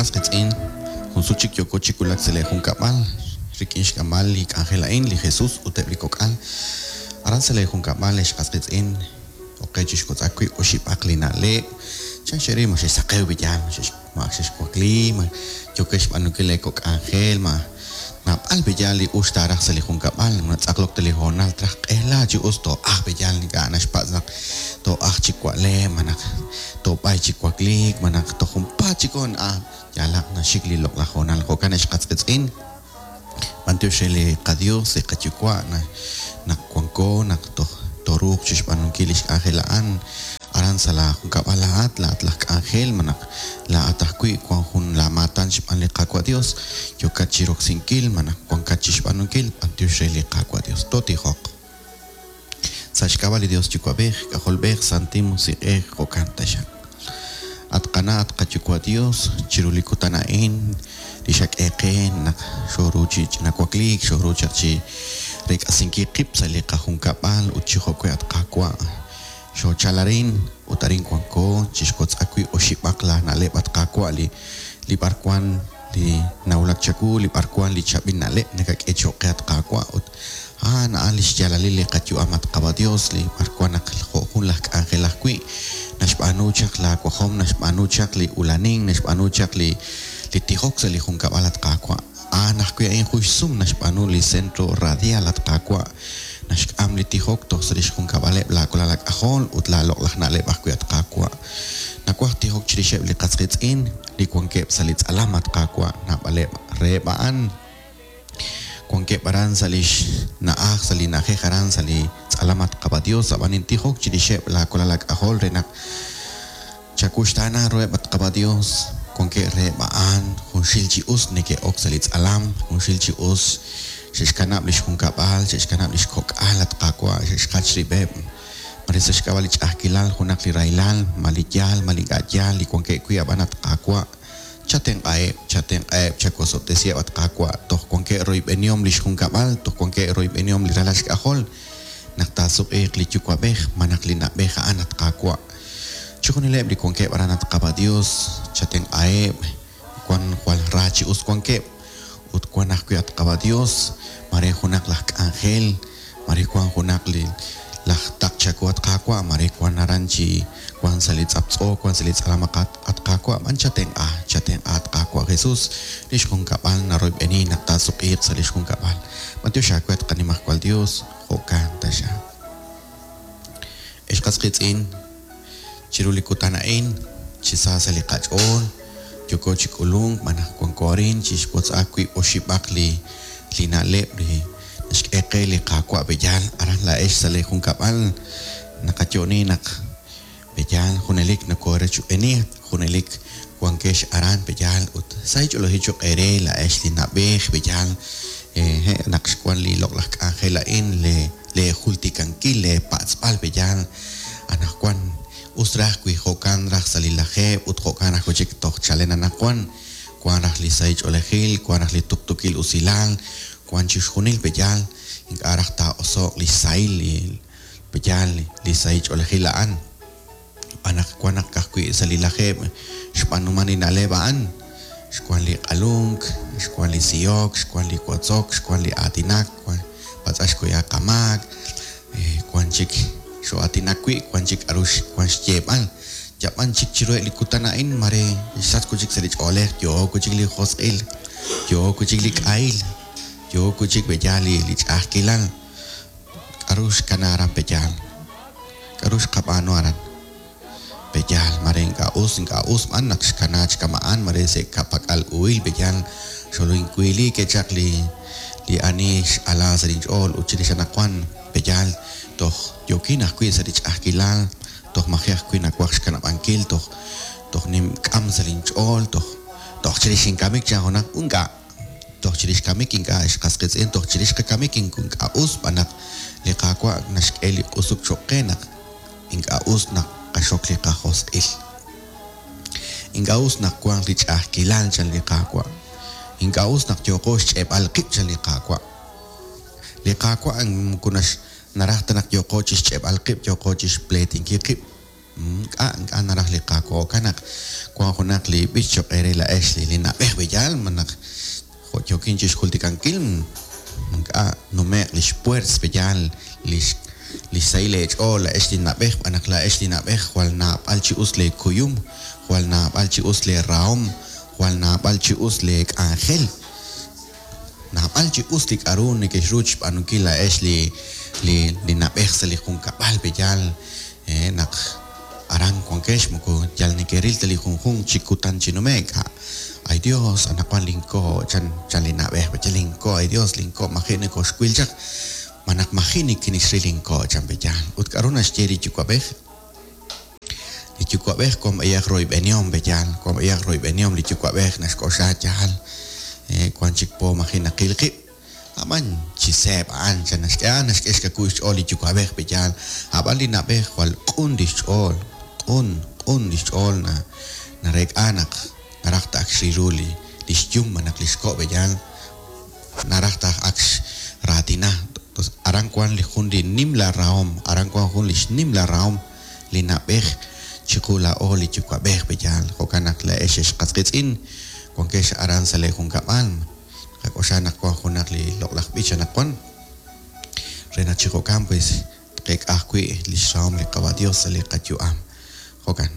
qas qiitz'in, jun sut chik yooko chi wulak sa' lee junkab'al rik'in xk'amb'al li k'anjel a'in, li Jesus ut eb' li kok'al. Aran sa' lee junkab'al, ex qas qiitz'in, ok qe chixwotz'ak wiib' oxib'aq li na'leb'. Chan xe'ril ma xexsaqew b'iyal, ma xex ma ak xexwakli, ma yookex xb'aanunkil lee kok' k'anjel, ma naab'al b'iyal li us taaraj sa' li junkab'al, ma natz'aqlok ta li hoonal traj q'ela chi us too'ajq b'iyal, ink'a' naxpatz' naq too'ajq chi wa'leb', malaj toob'ay chi wakliik, malaj toj junpaat chik hoon, ah, yaalaq naxik li loq'laj hoonal. Jo'kan ex qas qiitz'in, b'antiox re li qaDios, li qaYuwa', naq wanko, naq toj tooruuq chixb'aanunkil lix k'anjel a'an aran sa' laa junkab'al laa'at, laa'at laj k'anjel, malaj laa'at ajwi' wan jun laa maatan xb'aan li Qaawa' Dios yookat chiroksinkil malaj wankat chixb'aanunkil, b'antiox re li Qaawa' Dios. Tootijoq. Sa' xk'ab'a' li Dios Yuwa'b'ej, K'ajolb'ej, Santil Musiq'ej, jo'kan taxaq. At Qana' at qaYuwa' Dios, chiru li kutan a'in li xak'e qe naq xooru chi ch'ina wakliik, xooru chaq chi reek'asinkil qib' sa' li qajunkab'al ut chi jo'we' at Qaawa', xoochal arin ut arin wanko chixwotz'ak wiib' oxib'aq laa na'leb' at Qaawa' li li b'arwan li nawulak chawu, li b'arwan li chaab'il na'leb' nakak'e choq' qe at Qaawa' ut A'an a'an lix yaalalil li qayu'am, at Qaawa' Dios, li b'arwan naq jo' jun laj k'anjel ajwi', naxb'aanu chaq laa wajom, naxb'aanu chaq li ulanink, naxb'aanu chaq li li tijok sa' li junkab'al, at Qaawa'. A'an ajwi' a'in jun xsum naxb'aanu li Centro Radial, at Qaawa', naxk'am li tijok toj sa' lix junkab'aleb' laa walal aak'ajol ut laa loq'laj na'leb' ajwi', at Qaawa'. Nawaj tijok chirixeb' li qas qiitz'in li wankeb' sa' li tz'alam, at Qaawa', naab'aleb' reheb' a'an. Wankeb' aran sa' li xna'aj, sa' li na'ajej aran sa' li tz'alam at Qaawa' Dios, ab'an nintijok chirixeb' laawalal aak'ajol re naq chawuxtaana ruheb' at Qaawa' Dios. Wankeb' reheb' a'an junxil chi us neke'ok sa' li tz'alam, junxil chi us xe'xkanab' li xjunkab'al, xe'xkanab' li xkok'al at Qaawa', xe'xjach rib'eb', mare sa' xk'ab'a' li ch'a'ajkilal, junaq li rahilal, ma li yaal, ma li ink'a' yaal li wankeb' wi' ab'an at Qaawa', Chatenq'aheb', chatenq'aheb', chawosob'tesiheb', at Qaawa', toj wankeb' royb'enihom lix junkab'al, toj wankeb' royb'enihom li ralal xk'ajol, naq taasuq'iiq li yuwa'b'ej malaj li na'b'ej a'an, at Qaawa'. Chixjunileb' li wankeb' aran, at Qaawa' Dios, chatenq'aheb', wan jwal ra chi us wankeb', ut wan ajwi', at Qaawa' Dios, maare junaq laj k'anjel, Mare wan junaq li laj taql chawu, at Qaawa', mare wan aran chi wan sa' li tz'aptz'o, wan sa' li tz'alam, at Qaawa', b'an chatenq'a, chatenq'a, at Qaawa' Jesus, lix junkab'al naroyb'eni naq taasuq'iiq sa' lix junkab'al. B'antiox aawe, at qaNimajwal Dios, jo'kan taxaq. Ex qas qiitz'in, chiru li kutan a'in, chi sa sa' li qach'ool, yooko chi k'ulunk malaj wanko arin chixwotz'ak wiib' oxib'aq li li na'leb' li naxk'e qe li Qaawa' B'eyal aran laa'ex sa' lee junkab'al. Naqayo'oni naq B'eyal junelik nokoorechb'eni, junelik wankex aran B'eyal ut sahil ch'oolejil cho'q eere laa'ex li na'b'ej B'eyal hehe' naq xwan li loq'laj k'anjel a'in le lee jultikankil, lee patz'b'al B'eyal anaqwan. Us raj wi jo'kan raj sa' li lajeeb' ut jo'kan ajwi' chik toj chalen anaqwan. Wan raj li sahil ch'oolejil, wan raj li tuqtuukil usilal, wan chixjunil b'eyal, ink'a' raj taa'oso'q li xsahil li b'eyal li sahil ch'oolejil a'an. Xb'aan naq wan naq ka'ajwi' sa' li lajeeb' xb'aanuman li na'leb' a'an, xwan li q'alunk, xwan li sihok, xwan li wotzok, xwan li aatinak, wan patz'ax xkuya qamaak, wan chik xoo'aatinak wi', wan chik k'a'ru wan xyeeb'al. Yab'an chik chiruheb' li kutan a'in mare xsach wi' chik sa' li ch'oolej, yook wi' chik li josq'il, yook wi' chik li k'ahil, yook wi' chik b'eyaal li ch'a'ajkilal. K'a'ru xkana aran pe'yaal? K'a'ru xqab'aanu aran? Pe'yaal mare ink'a' us, ink'a' us b'an naq xkana chi kama'an, mare sa' ka'pak'al uhil pe'yaal xolinwiili ke'chaq li li ani x'ala sa' linch'ool ut chirix anaqwan pe'yaal toj yookin ajwi' sa' li ch'a'ajkilal Toj maji' ajwi' nawaj xkanab'ankil, toj toj nink'am sa' linch'ool, toj toj chirix inkamik chan junaq, ink'a'. Toj chirix kamik ink'a' ex qas qiitz'in, toj chirix qakamik ink'a' us xb'aan naq li Qaawa' naxk'e li q'usuk cho'q qe naq ink'a' us naq qaxok li qajosq'il. Ink'a' us naq wanq li ch'a'ajkilal chan li Qaawa'. Ink'a' us naq yooqo xch'e'b'al qib' chan li Qaawa'. Li Qaawa' moko nax Naraj ta naq yooqo chixch'e'b'al qib', yooqo chixpleetinkil qib'. Ink'a', ink'a' naraj li Qaawa'. Jo'kan naq wank junaq li b'ich cho'q eere laa'ex li na'b'ej b'eyal, malaj jo' yookin chixjultikankil, ink'a' nume'q lix puers b'eyal, lix lix sahil eech'ool laa'ex li na'b'ej, xb'aan naq laa'ex li na'b'ej jwal naab'al chi us lee kuyum, jwal naab'al chi us lee rahom, jwal naab'al chi us lee k'anjel. Naab'al chi us li k'a'ru nekexru chixb'aanunkil laa'ex li li li na'b'ej sa' li junkab'al, pe'yaal naq aran wankex moko yal nekeril ta li junjunq chi kutan chi nume'k. Ay Dios, anaqwan lin ko', chan chan li na'b'ej, pe'yaal lin ko', ay Dios, lin ko' maji' nokoxwil chaq, malaj maji' nikinixril lin ko', chan pe'yaal. Ut k'a'ru naxye li yuwa'b'ej? Li yuwa'b'ej wan b'ayaq royb'enihom, pe yaal, wan b'ayaq royb'enihom li yuwa'b'ej naxk'oxla yaal, wan chik po maji' naqil qib'. A'b'an chi seeb' a'an, chan naxk'e, a'an naxk'e xkawil xch'ool li yuwa'b'ej, pe yaal. A'b'an li na'b'ej jwal q'un lix ch'ool, q'un, q'un lix ch'ool na, nareek'a naq naraj ta ak xril ru li, lix yum malaj lix ko', pe yaal. Naraj ta ak xraatina. Aran wan li jun li nimla rahom, aran wan jun lix nimla rahom li na'b'ej chiqu laa'o li yuwa'b'ej, pe'yaal? Jo'kan naq laa'ex ex qas qiitz'in wankex aran sa' lee junkab'al, qak'oxla naq wan junaq li loq'laj b'ich anaqwan re naq chi jo'kan pues tqeek'a ajwi' lix rahom li Qawa' Dios sa' li qayu'am. Jo'kan.